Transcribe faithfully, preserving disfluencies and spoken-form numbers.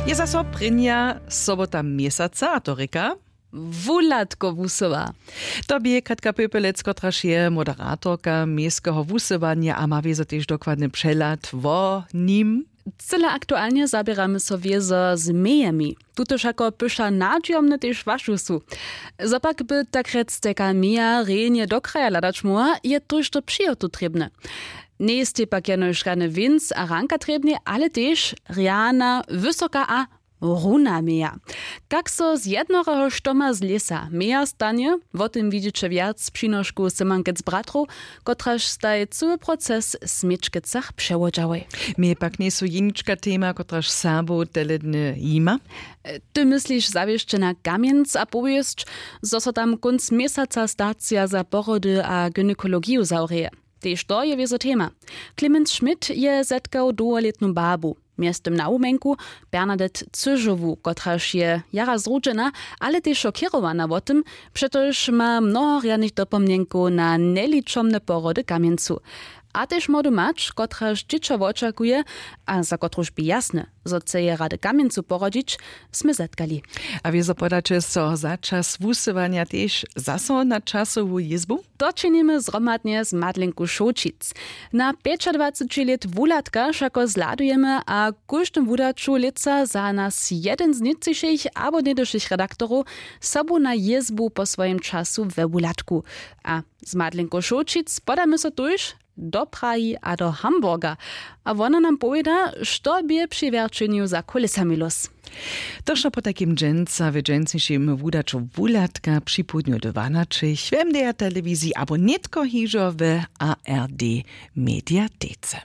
Je zaso prěnja sobota měsaca a to rěka wuhladko wusyła. To bě katka pepelec, kotraž je moderatorka měskeho wusywanja a ma wězo tež dokładny přehlad wo nim. Cyle aktualnje zaběramy so wězo z mejemi. Tutož jako pyša nadźijomne tež wašu su. Zo pak by tak rjec teka meja rjenje do kraja hladać móhła, je tójšto přihotu trěbne. Njejstej pak jenož rjany wěnc a ranka trěbnej, ale tež rjana wysoka a runa meja. Kak so z jednoreho štoma z lěsa meja stanje, wo tym widźeće wjac přinoškow symankec bratrow, kotraž staj cyły proces w směčkecach přewodźałoj. Mej pak njejsu jenička tema, kotraž serbow teledny jima. Ty mysliš zawěsće na kamjenc a powěsć, zo so tam kónc měsaca stacija za porody a gynekologiju zawrěje? Tež to je wězo tema. Clemens Schmidt je zetkał dołholětnu babu, mjeztym na wuměnku Bernadette Cyžowu, kotraž je jara zrudźena, ale tež šokěrowana wo tym, přetož ma mnoho rjanych dopomnjenkow na njeličomne porody w kamjencu. A tež młodu mać, kotraž dźěćo wočakuje a za kotruž bě jasne, zo chce je rady w kamjencu porodźić, smy zetkali. A wězo podaće so za čas wusywanja tež zaso na časowu jězbu? To činimy zhromadnje z Madlenku Šołćic. Na pjećadwaceći lět wuhladka wšako zhladujemy a w kóždym wudaću lětsa za nas jedyn z nětřišich abo něhdyšich redaktorow sobu na jězbu po swojim času we wuhladku. A z Madlenku Šołćic podamy so tuž do Prahi a do Hamburga. A wona nam powěda, što bě při wjerćenju za kulesami lós. To wšo potajkim dźensa w dźensnišim wudaću wuhladka připołdnju dwanaćich w M D R telewiziji abo nětko hižo w A R D mediatece.